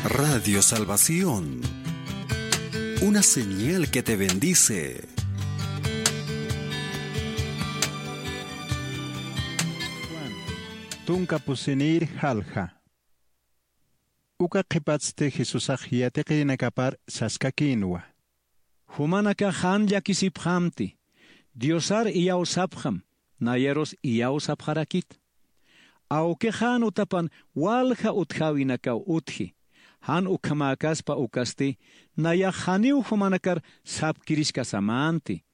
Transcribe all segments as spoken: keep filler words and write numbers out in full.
Radio Salvación, una señal que te bendice. Tunka pusinïr jalja. Uka qhipatsti Jesusax yatiqirinakapar saskakïnwa: Jumanakax jan llakisipxamti, Diosar iyawsapxam, nayarus iyawsapxarakit. Awkix jan utapan walja utjäwinakaw utji, jan ukhamäkaspa ukasti, nayax janiw jumanakar sapkiriskasamänti,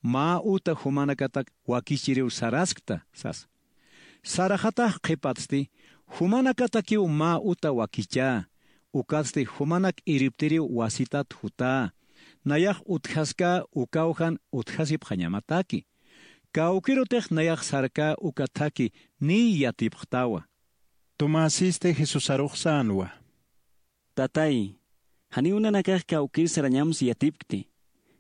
mä uta jumanakatak wakichiriw saraskta, sasa. Saraxatax qhipatsti, jumanakatakiw mä uta wakichä, ukatsti jumanak irptiriw wasitat jutä, nayax utjaskä ukaw jan utjasipxañamataki. Kawkïrutix nayax sarkä uka thakhi niy yatipxtawa. Tomäsisti Jesusarux sänwa: Tatay, janiw nanakax kawkïr sarañamsa yatipkti,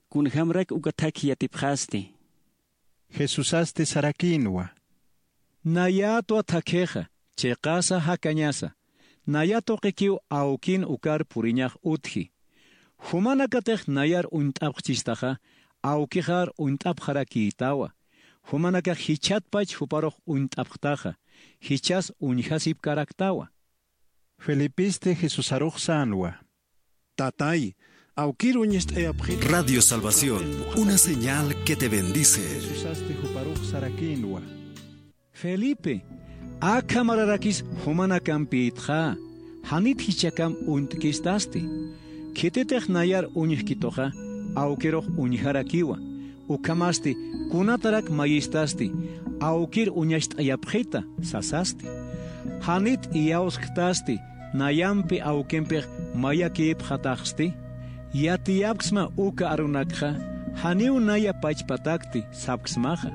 kunjämarak uka thakhi yatipxästi. Jesusasti sarakïnwa: Nayätwa thakhixa, chiqasa jakañasa, naya tuqikiw awkin ukar puriñax utji. Jumanakatix nayar uñt'apxchistaxa, awkixar uñt'apxarakïtawa. Jumanakax jichhatpach juparux uñt'apxtaxa, jichhas uñjasipkaraktawa. Felipisti Jesusarux sänwa: Tatay, awkïr uñacht'ayapxit. Radio Salvación, una señal que te bendice. Jesusasti juparux sarakïnwa: Felipe, akhamarakis jumanakampïtxa, janit jichhakam uñt'kistasti. Khititix nayar uñjkituxa, awkirux uñjarakiwa. Ukhamasti, kunatarak mayistasti, awkïr uñacht'ayapxita, sasasti. Janit iyawsktasti, nayampi awkimpix mayakïpxataxsti. Yatiyapksma uka arunakxa, janiw naya pachpatakti, sapksmaxa.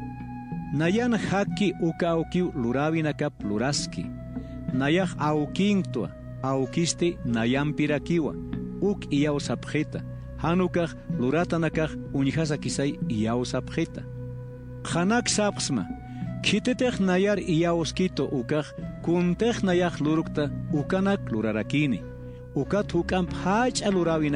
Nayan jakki uka awkiw luräwinakap luraski. Nayax awkïnktwa, awkisti nayampirakiwa, uk iyawsapxita, jan ukax luratanakax uñjasakisay iyawsapxita. Qhanak sapxsma, khititix nayar iyawskitu ukax, kuntix nayax lurkta ukanak lurarakïni. Ukat juk'amp jach'a luräwina